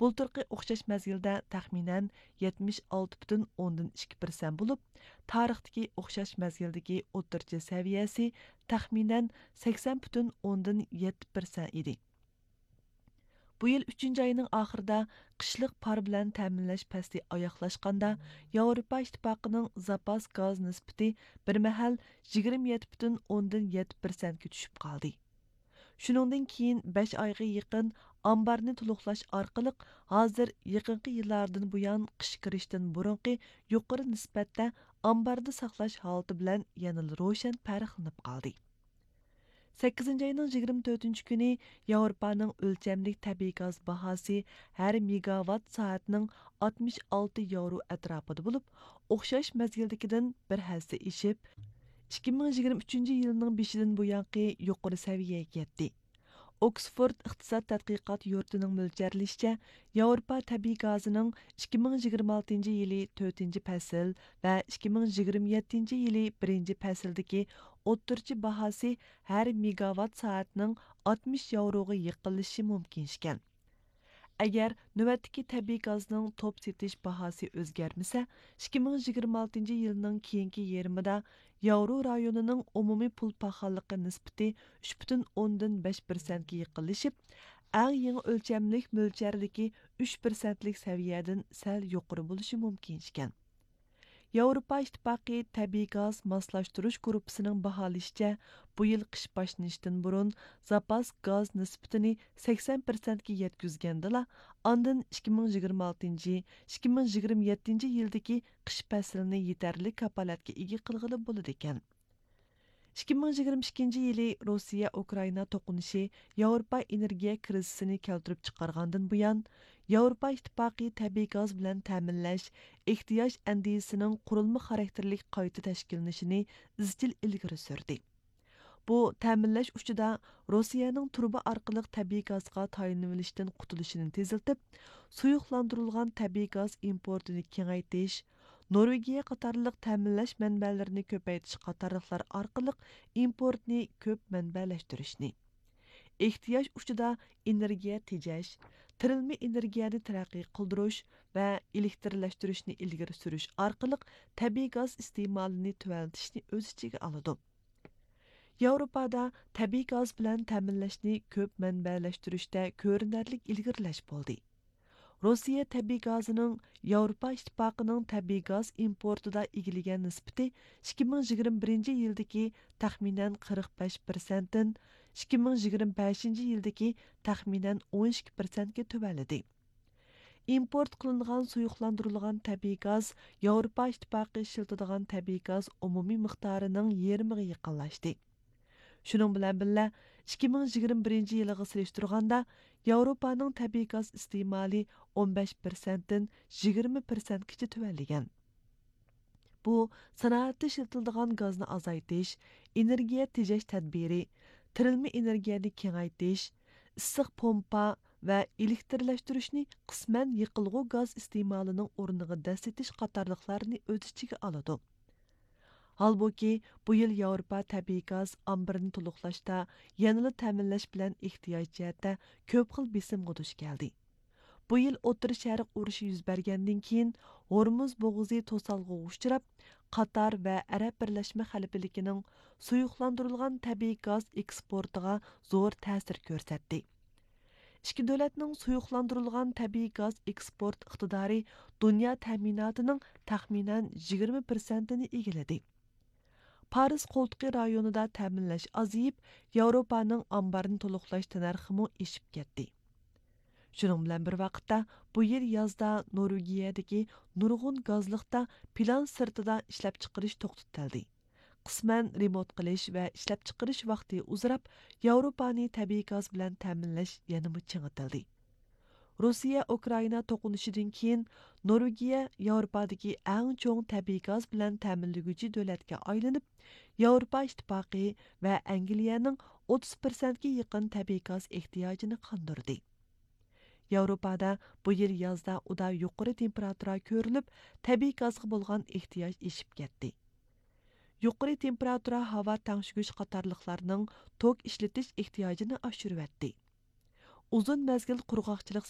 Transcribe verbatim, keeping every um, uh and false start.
بۇلتۇرقى ئوخشاش مەزگىلدە تەخمىنەن يەتمىش ئالتە پۈتۈن ئوندىن ئىككى پىرسەنت بولۇپ، تارىختىكى ئوخشاش مەزگىلدىكى ئوتتۇرىچە سەۋىيەسى تەخمىنەن سەكسەن پۈتۈن ئوندىن يەتتە پىرسەنت ئىدى. بۇ يىل ئۈچىنچى ئاينىڭ ئاخىرىدا قىشلىق پار بىلەن تەمىنلەش پەسلى ئاياغلاشقاندا، ياۋروپا ئىتتىپاقىنىڭ زاپاس گاز نىسبىتى بىر مەھەل يىگىرمە يەتتە پۈتۈن ئوندىن يەتتە پىرسەنتكە چۈشۈپ قالدى. شۇنىڭدىن كېيىن بەش ئايغا يېقىن ئامبارنى تولۇقلاش ئارقىلىق، ھازىر يېقىنقى يىللاردىن بۇيان قىش كىرىشتىن بۇرۇنقى يۇقىرى نىسبەتتە ئامباردا ساقلاش ھالىتى بىلەن يەنىلا روشەن پەرقلىنىپ قالدى. سەككىزىنچى ئاينىڭ يىگىرمە تۆتىنچى كۈنى ياۋروپانىڭ ئۆلچەملىك تەبىئىي گاز باھاسى ھەر مېگاۋات سائەتنىڭ ئاتمىش ئالتە ياۋرو ئەتراپىدا بولۇپ، ئوخشاش مەزگىلدىكىدىن بىر ھەسسە ئېشىپ، ئىككى مىڭ يىگىرمە ئۈچىنچى يىلنىڭ بېشىدىن بۇيانقى يۇقىرى سەۋىيەگە يەتتى. ئوكسفورد ئىقتىساد تەتقىقات يۇرتىنىڭ مۆلچەرلىشىچە، ياۋروپا تەبىئىي گازىنىڭ ئىككى مىڭ يىگىرمە ئالتىنچى يىلى تۆتىنچى پەسىل ۋە ئىككى مىڭ يىگىرمە يەتتىنچى يىلى بىرىنچى پەسىلدىكى ئوتتۇرىچە باھاسى ھەر مېگاۋات سائەتنىڭ ئاتمىش ياۋروغا يېقىنلىشىشى مۇمكىن ئىكەن. ئەگەر نۆۋەتتىكى تەبىئىي گازنىڭ توپ سېتىش باھاسى ئۆزگەرمىسە، ئىككى مىڭ يىگىرمە ئالتىنچى يىلنىڭ كېيىنكى يېرىمىدا ياۋرو رايونىنىڭ ئومۇمىي پۇل پاخاللىقى نىسبىتى ئۈچ پۈتۈن ئوندىن بەش پىرسەنتكە يېقىنلىشىپ، ئەڭ يېڭى ئۆلچەملىك مۆلچەردىكى ئۈچ پىرسەنتلىك سەۋىيەدىن سەل يۇقىرى بولۇشى مۇمكىن ئىكەن. ياۋروپا ئىتتىپاقى تەبىئىي گاز ماسلاشتۇرۇش گۇرۇپپىسىنىڭ باھالىشىچە، بۇ يىل قىش باشلىنىشتىن بۇرۇن زاپاس گاز نىسبىتىنى سەكسەن پىرسەنتكە يەتكۈزگەندىلا، ئاندىن ئىككى مىڭ يىگىرمە ئالتىنچى، ئىككى مىڭ يىگىرمە يەتتىنچى يىلدىكى قىش پەسلىنى يېتەرلىك كاپالەتكە ئىگە قىلغىلى بولىدىكەن. ئىككى مىڭ يىگىرمە ئىككىنچى يىلى روسىيە ئۇكرائىنا توقۇنۇشى ياۋروپا ئېنېرگىيە كىرىزىسىنى كەلتۈرۈپ چىقارغاندىن بۇيان، ياۋروپا ئىتتىپاقى تەبىئىي گاز بىلەن تەمىنلەش ئېھتىياج ئەندىزىسىنىڭ قۇرۇلما خاراكتېرلىك قايتا تەشكىللىنىشىنى ئىزچىل ئىلگىرى سۈردى. بۇ تەمىنلەش ئۇچىدا روسىيەنىڭ تۇرۇبا ئارقىلىق تەبىئىي گازغا تايىنىۋېلىشتىن قۇتۇلۇشىنى تېزلىتىپ، سۇيۇقلاندۇرۇلغان تەبىئىي گاز ئىمپورتىنى كېڭەيتىش، نورۋېگىيە قاتارلىق تەمىنلەش مەنبەلىرىنى كۆپەيتىش قاتارلىقلار ئارقىلىق ئىمپورتنى كۆپ مەنبەلەشتۈرۈشنى، ئېھتىياج ئۇچىدا ئېنېرگىيە تېجەش، تىرىلما ئېنېرگىيەنى تەرەققىي قىلدۇرۇش ۋە ئېلېكترلەشتۈرۈشنى ئىلگىرى سۈرۈش ئارقىلىق تەبىئىي گاز ئىستېمالىنى تۆۋەنلىتىشنى ئۆز ئىچىگە ئالىدۇ. ياۋروپادا تەبىئىي گاز بىلەن تەمىنلەشنى كۆپ مەنبەلەشتۈرۈشتە كۆرۈنەرلىك ئىلگىرىلەش بولدى. روسىيە تەبىئىي گازىنىڭ ياۋروپا ئىتتىپاقىنىڭ تەبىئىي گاز ئىمپورتىدا ئىگىلىگەن نىسبىتى ئىككى مىڭ يىگىرمە بىرىنچى يىلدىكى تەخمىنەن قىرىق بەش پىرسەنتتىن ئىككى مىڭ يىگىرمە بەشىنچى يىلدىكى تەخمىنەن ئون ئىككى پىرسەنتكە تۆۋەنلىدى. ئىمپورت قىلىنغان سۇيۇقلاندۇرۇلغان تەبىئىي گاز ياۋروپا ئىتتىپاقى ئىشلىتىدىغان تەبىئىي گاز ئومۇمىي مىقدارىنىڭ يېرىمىغا يېقىنلاشتى. شۇنىڭ بىلەن بىللە، ئىككى مىڭ يىگىرمە بىرىنچى يىلىغا سېلىشتۇرغاندا، ياۋروپانىڭ تەبىئىي گاز ئىستېمالى ئون بەش پىرسەنتتىن يىگىرمە پىرسەنتكىچە تۆۋەنلىگەن. بۇ سانائەتتە ئىشلىتىلىدىغان گازنى ئازايتىش، ئېنېرگىيە تېجەش تەدبىرى، تىرىلما ئېنېرگىيەنى كېڭەيتىش، ئىسسىق پومپا ۋە ئېلېكترلەشتۈرۈشنى قىسمەن يېقىلغۇ گاز ئىستېمالىنىڭ ئورنىغا دەسسىتىش قاتارلىقلارنى ئۆز ئىچىگە ئالىدۇ. ھالبۇكى، بۇ يىل ياۋروپا تەبىئىي گاز ئامبىرىنى تولۇقلاشتا يەنىلا تەمىنلەش بىلەن ئېھتىياج جەھەتتە كۆپ خىل بېسىمغا دۇچ كەلدى. بۇ يىل ئوتتۇرا شەرق ئۇرۇشى يۈز بەرگەندىن كېيىن، ھورمۇز بوغۇزى توسالغۇغا ئۇچراپ، قاتار ۋە ئەرەب بىرلەشمە خەلىپىلىكىنىڭ سۇيۇقلاندۇرۇلغان تەبىئىي گاز ئېكسپورتىغا زور تەسىر كۆرسەتتى. ئىككى دۆلەتنىڭ سۇيۇقلاندۇرۇلغان تەبىئىي گاز ئېكسپورت ئىقتىدارى دۇنيا تەمىناتىنىڭ تەخمىنەن يىگىرمە پىرسەنتىنى ئىگىلىدى. پارس قولتۇقى رايونىدا تەمىنلەش ئازىيىپ، ياۋروپانىڭ ئامبارنى تولۇقلاش تەننەرخىمۇ ئېشىپ كەتتى. شۇنىڭ بىلەن بىر ۋاقىتتا، بۇ يىل يازدا نورۋېگىيەدىكى نۇرغۇن گازلىقتا پىلان سىرتىدا ئىشلەپچىقىرىش توختىتىلدى. قىسمەن رېمونت قىلىش ۋە ئىشلەپچىقىرىش ۋاقتى ئۇزىراپ، ياۋروپانى تەبىئىي گاز بىلەن تەمىنلەش يەنىمۇ چىڭىتىلدى. روسىيە ئۇكرائىنا توقۇنۇشىدىن كېيىن، نورۋېگىيە ياۋروپادىكى ئەڭ چوڭ تەبىئىي گاز بىلەن تەمىنلىگۈچى دۆلەتكە ئايلىنىپ، ياۋروپا ئىتتىپاقى ۋە ئەنگلىيەنىڭ ئوتتۇز پىرسەنتكە يېقىن تەبىئىي گاز ئېھتىياجىنى قاندۇردى. ياۋروپادا بۇ يىل يازدا ئۇدا يۇقىرى تېمپېراتۇرا كۆرۈلۈپ، تەبىئىي گازغا بولغان ئېھتىياج ئېشىپ كەتتى. يۇقىرى تېمپېراتۇرا ھاۋا تەڭشىگۈچ قاتارلىقلارنىڭ توك ئىشلىتىش ئېھتىياجىنى ئاشۇرۇۋەتتى. ئۇزۇن مەزگىل قۇرغاقچىلىق